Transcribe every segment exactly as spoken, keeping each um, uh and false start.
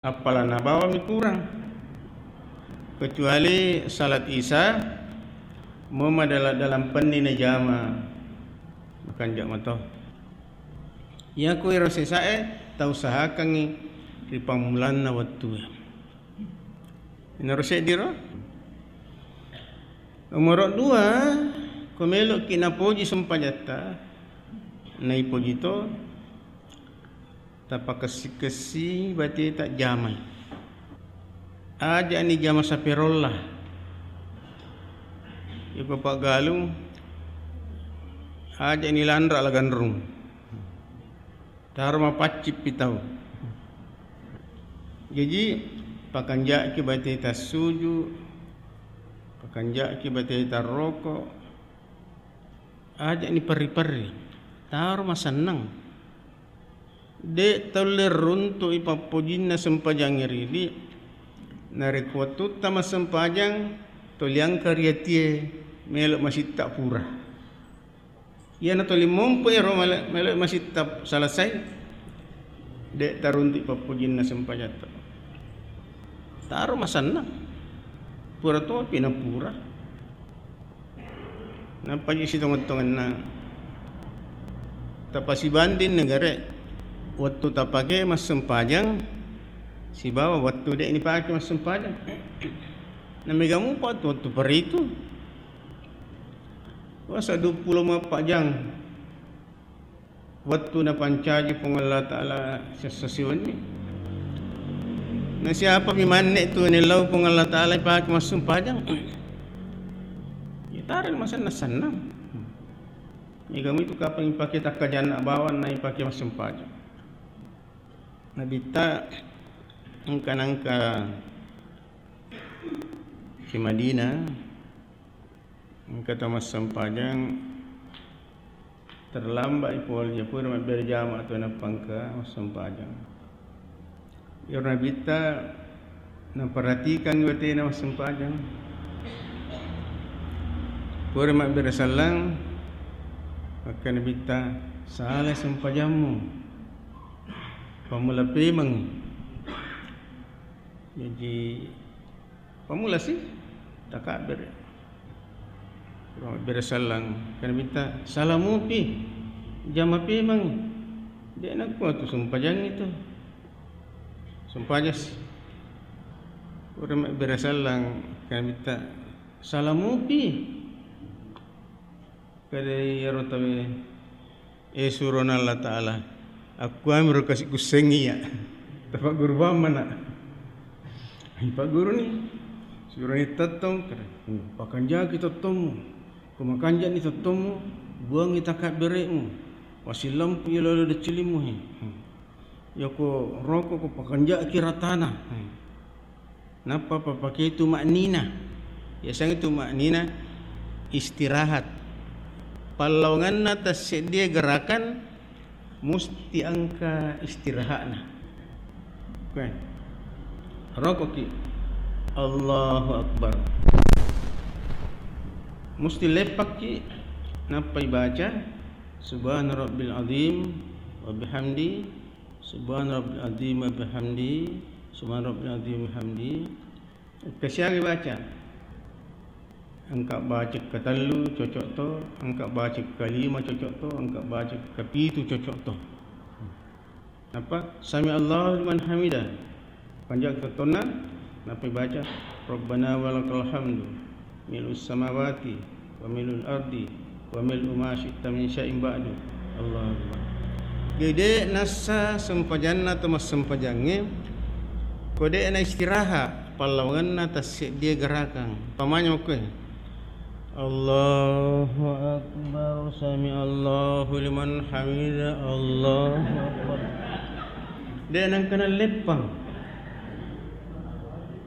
Appalana bawang mi kurang. Kecuali salat Isya, mema dalam, dalam penni najama, makanja mato. Iyako ero sesae tausahakangngi ri pammulanna wettue. Inaro seddiro. Nomoro dua, ko meloki napoji sempajatta, naipoji to, tapakessi-kessi bateta jamai. Ajani jama saperolla. Iko paggalung, ajani lanra laganrung. Taro mapaccippi tau. Jaji, pakanjaki bateta suju, pakanjaki bateta roko, ajani perri-perri. Taro masennang. De taulle runtu'i pappojinna sempajangnge ridi, narekko wettutta massempajang, toliangka ri atie melo masitta pura. Iyana toli mompo ero male-, melo masitta selesai, de taruntu'i pappojinna sempajatta. Taro masennang. Pura topi na pura. Nappa ji sitongeng-tongenna. Tapasibanding negare, wettu tapake massempajang sibawa wettu de nipake massempajang. Na mega mupa tu wettu peritu. Puasa duappulo empat jang. Wettu napancaji Puang Allah Ta'ala sessa siwenni. Na siapa mi manne tu nellau Puang Allah Ta'ala ipake massempajang? Ya, tareng masenna-senna. Mega mitu kapang ipake takkajanna bawang na ipake massempajang. Nabitta engka nangka ki Madinah, engka tau massempajang, terlambat i pole, pura mabbere jama tu nappa engka massempajang. Iyaro Nabitta naperhatikan watena massempajang. Pura mabbere sallang, makkeda Nabitta, "Salai sempajammu. Pammula pemeng." Jaji, pammula si takabbere. Bere sallang, makkeda Nabitta, "Salamupi, jama pemeng." De nakko tu sempajangngi tu. Sempajang si. Pura mabbere sallang, makkeda Nabitta, "Salamupi." Kada iyaro tauwe, eh, surona Allah Ta'ala, akkuamiro kasi kussengngi iya. Tapagguru bawang mana. Ipagguruni, suroni tettong, kada, hmm, pakanjaki tettommu. Ko makanjani tettommu, buangi takabbere'mu. Wasillampu iya lolo deccilimmu he. Hmm. Yako roko ko pakanjaki ratana. Hmm. Nappa papake tuma'ninah. Yaseng tuma'ninah istirahat. Pallawangenna tasseddie gerakan musti engka istirahatna. Oke. Rokoki. Allahu Akbar. Musti leppakki nappai baca Subhana Rabbil Azim wa bihamdi. Subhana Rabbil Azim wa bihamdi. Subhana Rabbil Azim wa bihamdi. Engka siaga baca. Engka baca ketellu cocok to, engka baca kelima cocok to, engka baca kepitu cocok to. Nappa, "Sami Allahu liman hamida." Panjak tettonna, nappa baca, "Rabbana walakal hamdu, mil'us samawati, wa mil'ul ardi, wa mil'u ma syi'ta min syai'in ba'du." Allahu Akbar. Jadi, de nassa sempajanna to massempajangnge, ko de na istirahat, pallawangenna tasseddie gerakang. Pamanya makkue, "Allahu Akbar, sami Allahu liman hamida, Allahu Akbar." De nangkana leppang.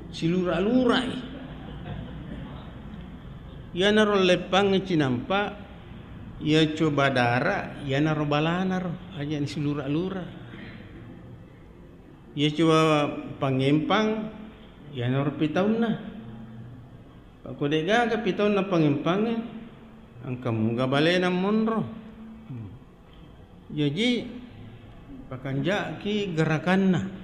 Silura-lurai. Iyanaro leppang cinampa, iya coba dara, iyanaro balanaro, aja ni silura-lura. Iya coba pangempang, iyanaro pitaunna. Ko de gaga pitaunna pangempangnge, engka muga balena monro. Jaji, pakanjaki gerakanna.